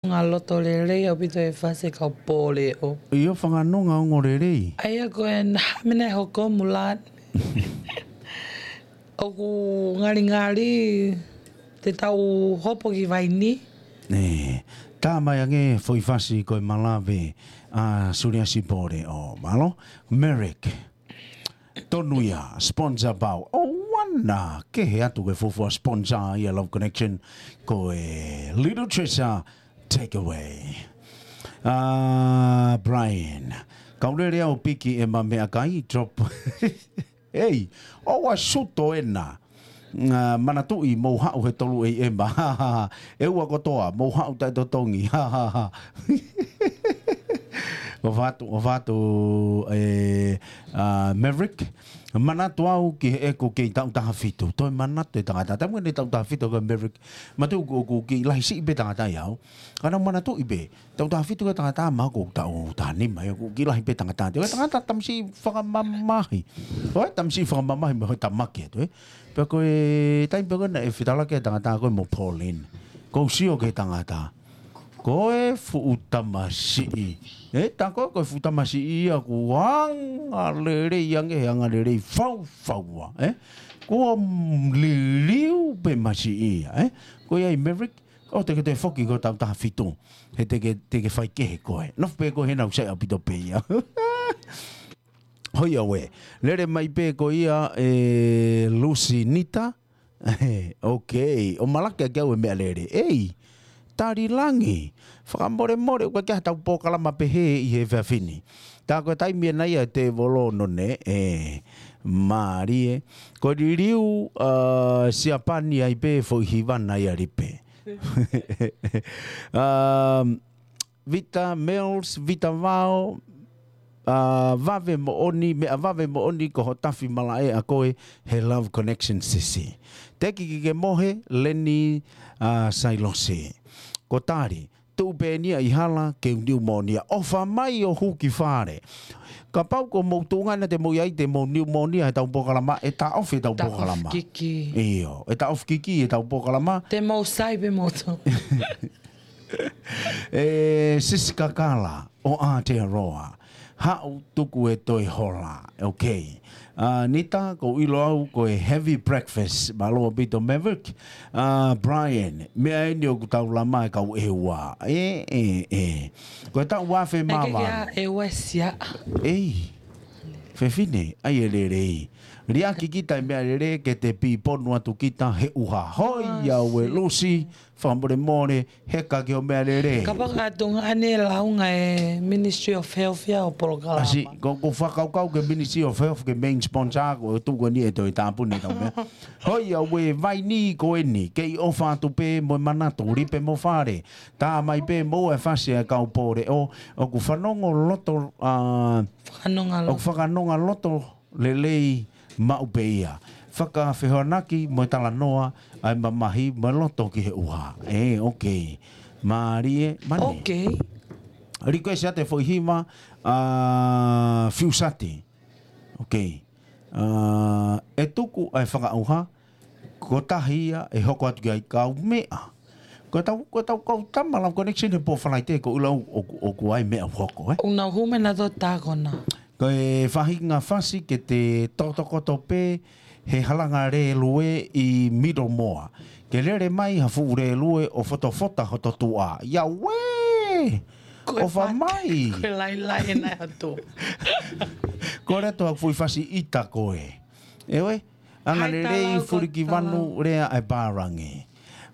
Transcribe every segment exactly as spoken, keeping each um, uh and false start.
Fakanonga loto lelei ʻaupito e fasi e kau pōleʻo. ʻIo, fakanonga ongo lelei. ʻA ia ko e naʻa mena e hoko mulat. ʻOku ngalingali te tau hopo ki Vaini. Ē, tā mai ange foʻi fasi ko e Malave ʻa Suliasi Pōleʻo. Mālō, Merrick. Tonu ia, sponsor pau. ʻOua naʻa kehe atu ke fuofua sponsor ia Love Connection, ko e Little Treasure Takeaway. ʻA, Brian, kau lele au piki ʻema meʻakai, drop. Ei, ʻoua suto ena. ʻA, manatuʻi mou haʻu he tolu ʻe ʻema. ʻE ua kotoa, mou haʻu taʻetotongi. ʻOfa atu, ʻofa atu, ē, ʻa, Maverick. Manatu au ki heʻeku kei taʻu taha fitu. Toe manatu e tangata. Taimi ʻeni taʻu taha fitu ko Maverick. Manatu ʻoku, ʻoku kiʻi lahi siʻi pē tangata ia au. Ka naʻa ku manatuʻi pē. Taʻu taha fitu ko e tangata maʻaku taʻu taha nima ia, ʻoku kiʻi lahi pē tangata. Ko e tangata tamasiʻi fakamamahi. ʻOi, tamasiʻi fakamamahi mo e tamaki atu, ē. Pea ko e taimi pē ko ē naʻe fetalaki e tangata ko ē mo Pauline. Ko u sio ki he tangata. Ko e fuʻu tamasiʻi. Ē, tā ko ē ko e fuʻu tamasiʻi ia kuo anga lelei ange he anga lelei faufaua, ē. Kuo liliu pē masiʻi ia, ē. Ko ia ʻi Maverick, ʻo te ke toe foki ko e taʻu taha fitu. He te ke, te ke fai kehe koe. Nofo pē koe he naʻa ku saiʻia ʻaupito pē ia. Hoi au ē. Lele mai pē ko ia ē Lucy Nita. Ok. ʻO malaki ʻaki au e meʻalele. Ei. Tali langi. Fakamolemole, ʻoku ʻikai ke ʻi ai haʻatau polokalama pehē ʻi he efiafi ni. Tā ko e taimi ʻena ia e tēvolo none, ē, mālie. Ko e liliu, ʻa, Siapani ai pē foʻi hiva na ia lipe. Um, Vita Mills, Vita Vao, ʻa, vave moʻoni, meʻa vave moʻoni ko ho tafi malaʻe ʻa koe he Love Connection sisi. Teki ke ke mohe, Leni, ʻa, Sailosi. Ko Tali, tuʻu pē eni ia ʻi hala, ke u niumōnia. ʻOfa mai ʻo hū ki fale. Kapau ko mou tuʻunga ena te mou ʻi ai te mou niumōnia he taʻu polokalama, ʻe taʻofi e taʻu polokalama. Taʻofi kiki. ʻIo, ʻe taʻofi kiki e taʻu polokalama. Te mou sai pē mou tō. ʻE, Sisi Kakala ʻo Aotearoa. Haʻu tuku e toe hola. Ok. ʻA, Nita, ko u ʻilo au ko e heavy breakfast. Mālō ʻaupito Maverick. ʻA, Brian, meʻa eni ʻoku tau lama e kau ʻEua. Ē, ē, ē. Ko e taʻu ua afe mā valu. ʻE ua sia. Ei. Fefine, ʻai e lelei. Liʻaki kita e meʻalele ke te piponu atu kita he ʻuha. Hoi au ē Lucy. Fakamolemole, heka ki hoʻo meʻalele. Kapau ka tuʻunga ʻene launga e Ministry of Health ia ʻo polokalama. ʻAsi, ko, ko u fakakaukau ke Ministry of Health ke main sponsor, ko e tuʻu ko eni e toe tāpuni tau meʻa. Hoi au ē Vaini ko eni, kei ʻofa atu pē mo e manatu, lipe mo fale. Tā mai pē mo e fasi e kau pōleʻo, ʻoku fanongo loto, ʻa, Fakanonga loto. ʻOku fakanonga loto lelei maʻu pē ia. Fakafehoanaki mo e talanoa ʻa e mamahi mo e loto ki he ʻuha. Ē, ok. Mālie, mane. Ok. Request atu e foʻi hiva, ʻa, Fiusati. Ok. ʻA, ʻe tuku ʻa e fakaʻuha, ko tahi ia ʻe hoko atu ki ai kau meʻa. Ko e tau, ko e tau kau tama Love Connection he pō Falaite ko u ʻilo au ʻoku, ʻoku ʻi ai meʻa ʻoku hoko, ē? ʻOku nau hū mai nautolu ʻo tākona. Ko e faʻahinga fasi ke te tokoto pē he halanga lēlue ʻi Middlemore. Ke lele mai ha fuʻu lēlue ʻo fotofota hoto tuʻa. Ia uē! ʻOfa mai! Ko e lailai ena atu. Ko e leto ha fuʻu fasi ʻita ko ē. ʻEuē, anga lelei Fulikivanu lea ʻa e pālangi.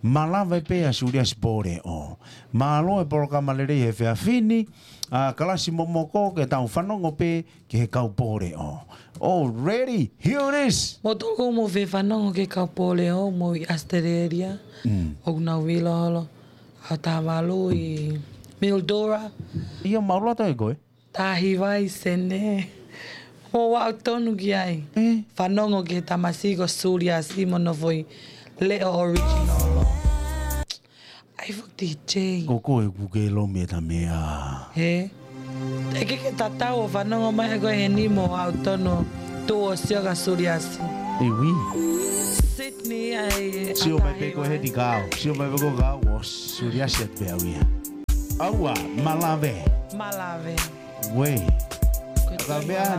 Malava pē ʻa Suliasi Pōleʻo. Mālō e polokalama lelei he efiafi ni, ʻa, kalasi momoko ke tau fanongo pē ki he kau pōleʻo. Already, here it is. Mo toko mo fe fanongo ki he kau pōleʻo, mo ʻi Australia. Mm. ʻOku nau vilo holo. ʻA Tāvalu ʻi Mildura. Ia mau loto e koe. Tahi vai sene. Mo au tonu ki ai. Eh. Fanongo ki he tamasiʻi ko Suliasi mo hono foʻi leʻo original. Ai foki D J. Ko koe ʻoku ke lomi e tamea. He. Te ke ke tatau ʻo fanongo mai ʻe koe heni mo au tonu tuʻu ʻo sio kia Suliasi. Iwi. Sydney ai. Sio mai pē koe heni kau. Sio mai pē koe kau ʻo Suliasi atu pē au ia. ʻAua, malave. Malave. Uē. Ko e Ka toe meʻa malave.